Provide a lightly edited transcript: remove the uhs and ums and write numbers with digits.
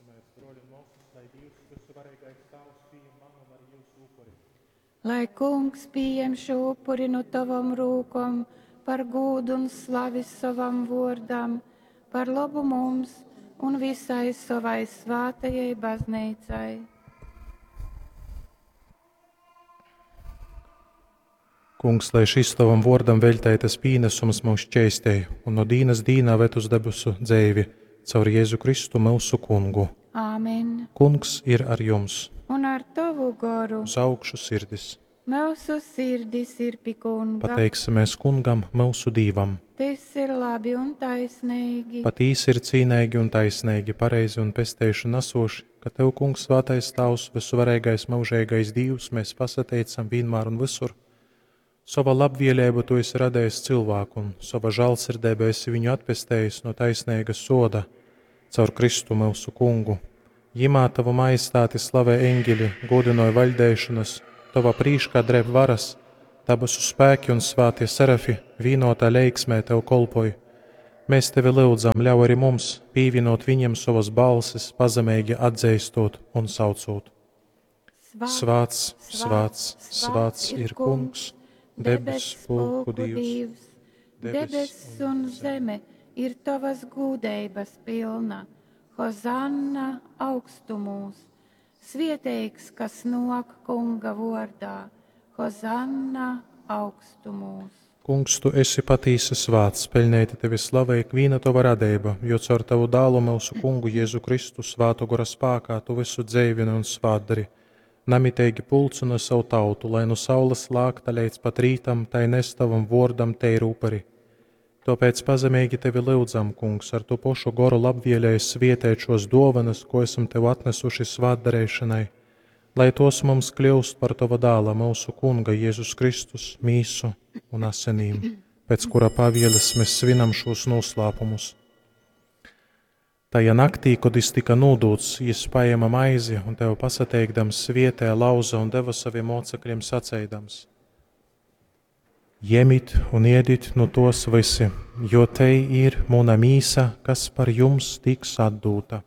Lūksimies, broļi un mōsas, lai Dīvs, vysuvareigais Tāvs, pījam manu un arī jūsu upuri. Lai Kungs pieņem šo upuri no tavam rūkom par gūdu un slavi savam vōrdam, par labu mums un visai savai svātajai baznīcai. Kungs, lai šis tavam vōrdam veļteitas pīnesums mūs šķeistej un no dīnas dīnā ved uz debesu dzeivi caur Jēzu Kristu myusu Kungu. Āmen. Kungs ir ar jums. Un ar tavu goru Uz augšu sirdis. mūsu sirdis ir pi Kunga. Pateiksimies Kungam, myusu Dīvam. Tas ir labi un taisnīgi. Patīsi ir cīneigi un taisneigi, pareizi un pesteišanu nesoši, ka Tev, Kungs, svētais Tavs, vysuvareigais mūžīgais Dīvs, mēs pasateicam vienmēr un visur. Sova labvēlība Tu esi radījis cilvēku, un sova žēlsirdība esi viņu atpestējis no taisnīga soda caur Kristu mūsu Kungu. Jimā Tavu majestāti slavē eņģeļi, godinoja vaļdēšanas, Tava prīškā dreb varas, dabasu spēki un svētie serafi vienotā leiksmē Tev kolpoj. Mēs tevi lūdzam, ļauj arī mums pievienot viņiem savas balsis, pazemeigi atzīstot un saucot. Svāts, svāts, svāts ir Kungs, debes pulku Dievs. Debess un zeme ir tavas gūdeibas pilna. Hozanna augstumūs. Svieteigs, kas nok Kunga vārdā. Hozanna augstumūs. Kungs, tu esi patīsi svāts, peļnēti tevi slavē ikviena tava radība, jo caur tavu dālu mūsu kungu Jēzu Kristu svātu gora spākā tu visu dzeivini un svātdari. Namiteigi pulcina savu tautu, lai no saules lākta līdz pat rītam, tai nes tavam vōrdam teiru upuri. Tāpēc pazemīgi tevi lūdzam, Kungs, ar to pašu goru labvēlēju svietēt šos dāvanas, ko esam tev atnesuši svātdarīšanai, lai tos mums kļūst par tava dāla, mūsu Kunga Jēzus Kristus, mīsu un asinīm, pēc kura pavieles mēs svinam šos noslēpumus. Tajā naktī, kad jis tika nodūts, jis paēma maizi un tev pasateikdams svietē lauza un deva saviem mocekļiem saceidams: Jemit un iedit no tos visi, jo te ir muna mīsa, kas par jums tiks atdūta.